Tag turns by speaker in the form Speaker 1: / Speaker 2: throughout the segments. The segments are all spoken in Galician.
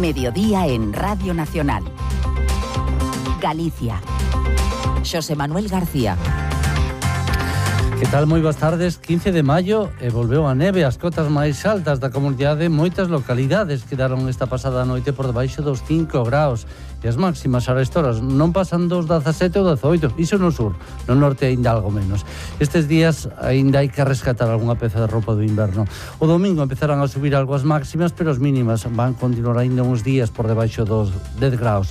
Speaker 1: Mediodía en Radio Nacional. Galicia. Xosé Manuel García.
Speaker 2: Que tal? Moi boas tardes. 15 de maio e volveu a neve. As cotas máis altas da comunidade, moitas localidades quedaron esta pasada noite por debaixo dos 5 graus. E as máximas a esta horas non pasan dos 17 ou 18. Iso no sur, no norte aínda algo menos. Estes días aínda hai que rescatar algunha peza de roupa do inverno. O domingo empezarán a subir algo as máximas, pero as mínimas van continuar aínda uns días por debaixo dos 10 graus.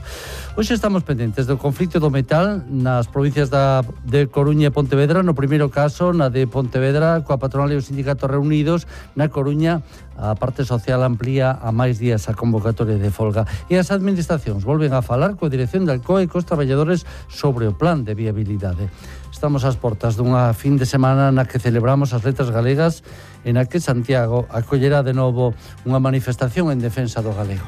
Speaker 2: Hoxe estamos pendentes do conflito do metal nas provincias de Coruña e Pontevedra. No primeiro caso, na de Pontevedra, coa patronal e os sindicatos reunidos. Na Coruña, a parte social amplía a máis días a convocatoria de folga. E as administracións volven a falar coa dirección del COE e cos traballadores sobre o plan de viabilidade. Estamos ás portas dunha fin de semana na que celebramos as letras galegas e na que Santiago acollerá de novo unha manifestación en defensa do galego.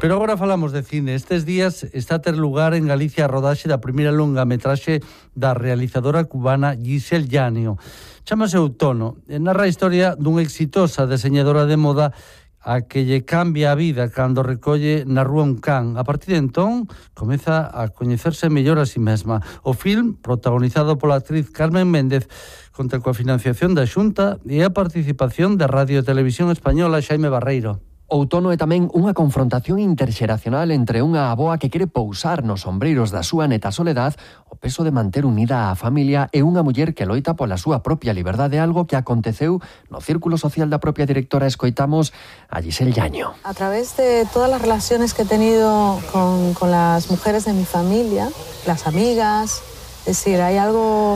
Speaker 2: Pero agora falamos de cine. Estes días está a ter lugar en Galicia a rodaxe da primeira longa metraxe da realizadora cubana Giselle Llanio. Chámase Outono e narra a historia dunha exitosa deseñadora de moda a que lle cambia a vida cando recolle na rúa un can. A partir de entón, comeza a coñecerse mellor a si mesma. O film, protagonizado pola actriz Carmen Méndez, conta coa financiación da Xunta e a participación da Radio e Televisión Española Xaime Barreiro.
Speaker 3: Outono é tamén unha confrontación interxeracional entre unha avoa que quere pousar nos ombreiros da súa neta Soledad o peso de manter unida a familia e unha muller que loita pola súa propia liberdade, algo que aconteceu no círculo social da propia directora. Escoitamos a Giselle Llanio.
Speaker 4: A través de todas las relaciones que he tenido con las mujeres de mi familia, las amigas, es decir, hay algo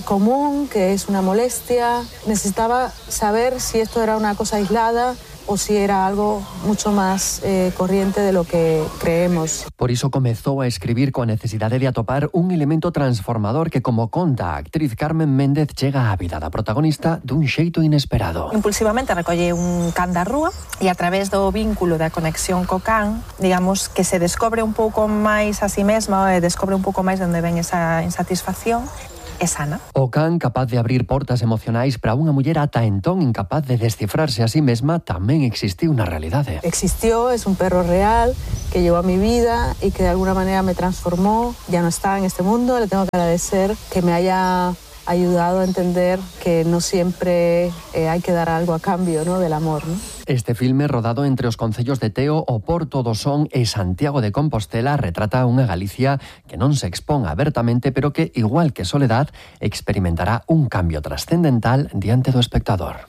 Speaker 4: común que es una molestia. Necesitaba saber si esto era una cosa aislada o si era algo mucho más corriente de lo que creemos.
Speaker 3: Por iso comezou a escribir coa necesidade de atopar un elemento transformador que, como conta a actriz Carmen Méndez, chega á vida da protagonista dun xeito inesperado.
Speaker 5: Impulsivamente recolle un can da rúa e a través do vínculo da conexión co can, digamos que se descobre un pouco máis a si mesma e descobre un pouco máis de onde ven esa insatisfacción. É sana.
Speaker 3: O can, capaz de abrir portas emocionais para unha muller ata entón incapaz de descifrarse a sí mesma, tamén existiu na realidade.
Speaker 4: Existió, es un perro real que llegó a mi vida y que de alguna manera me transformó. Ya no está en este mundo, le tengo que agradecer que me haya ayudado a entender que no siempre hay que dar algo a cambio, ¿no?, del amor, ¿no?
Speaker 3: Este filme, rodado entre os concellos de Teo, O Porto do Son e Santiago de Compostela, retrata unha Galicia que non se expón abertamente, pero que, igual que Soledad, experimentará un cambio trascendental diante do espectador.